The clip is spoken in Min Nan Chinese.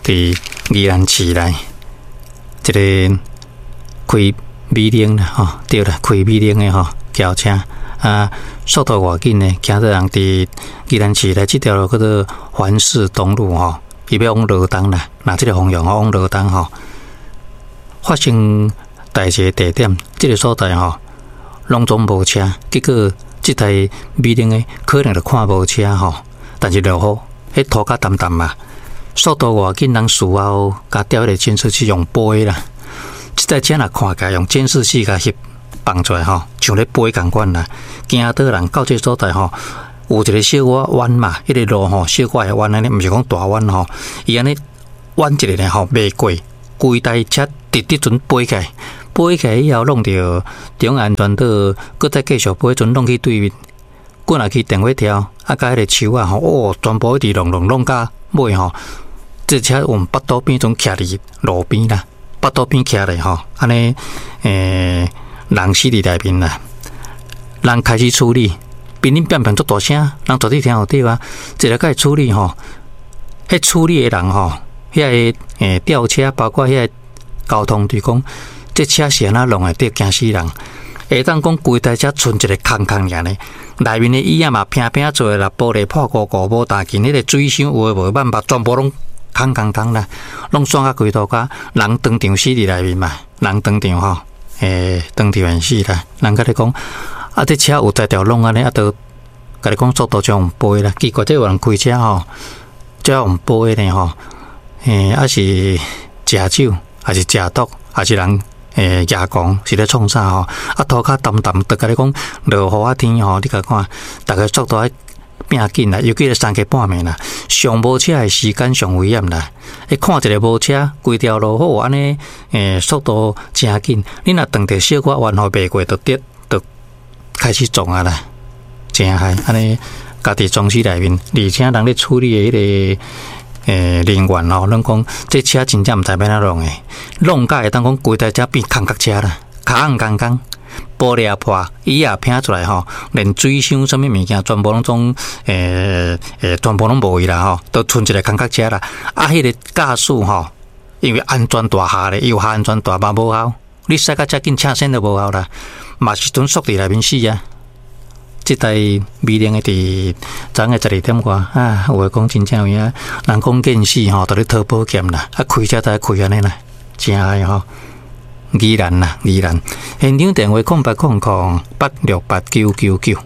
佇宜蘭市內，一个開美玲啦吼，對啦，開美玲的吼轎車啊，速度偌緊呢，驚到人佇宜蘭市內這條路叫做環市東路吼，伊欲往羅東啦，若這个方向吼往羅東吼，發生代誌的地點，這个所在吼，攏總無車，結果這台美玲的可能就看無車吼，但是落雨，彼塗較澹澹嘛，速度偌緊，人事後共調彼个監視器用飛啦，這台車若看起來用監視器共翕放出來吼，像咧飛仝款啦，驚倒人到這个所在吼，有一个小可彎嘛，彼个路吼小可會彎按呢，毋是講大彎吼，伊按呢彎一个呢吼，袂過，規台車直直陣飛起來，飛起來以後弄著中安全島，閣再繼續飛，陣弄去對面，滾入去電火柱，啊，佮彼个樹仔吼，哦，全部一直弄弄弄到尾吼，這車往腹肚邊陣徛佇路邊啦，腹肚邊徛咧吼，按呢，人死佇內面啦，人開始處理，乒鈴乓乓足大聲，人絕對聽予著啊，一个共伊處理吼，彼處理的人吼，遐个吊車，包括遐个交通隊講，這車是按怎弄的？對，驚死人！會當講規台車賰一个空空爾呢，內面的椅仔嘛平平做啦，玻璃破糊糊，無大件，彼个水箱有的無辦法，全部攏空空空啦，攏散甲規塗跤，人當場死佇內面嘛，人當場吼，當場死啦。人共你講，啊，這車有才調弄按呢，啊，都共你講速度將飛啦，奇怪，這有人開車吼，這用飛呢吼，啊是食酒，還是食毒，還是人？夜狂是咧創啥吼？啊，塗跤澹澹，就共你講落雨仔天吼，你共看，逐个速度愛變緊啦，尤其是三更半暝啦，上無車的時間上危險啦。會看一个無車，規條路好按呢，速度誠緊，你若撞著小可彎吼，袂過就跌，就開始撞啊啦，誠害按呢，家己裝死內面，而且人咧處理的彼个人員吼，攏講這車真正毋知欲按怎弄的，弄甲會當講規台車變空殼車啦，跤空空，玻璃也破，椅也偏出來吼，連水箱啥物物件全部攏總全部攏無去啦吼，都賰一个空殼車啦。啊，彼个駕駛吼，因為安全帶下咧，伊有下安全帶嘛無效，你駛甲遮緊車身都無效啦，嘛是陣縮佇內面死啊。這台美玲的佇昨昏12點外啊，有話講真正有影，人講見死吼，就咧討保險啦，啊開車就開按呢啦，誠害吼。宜蘭啦，宜蘭，現場電話0800868999。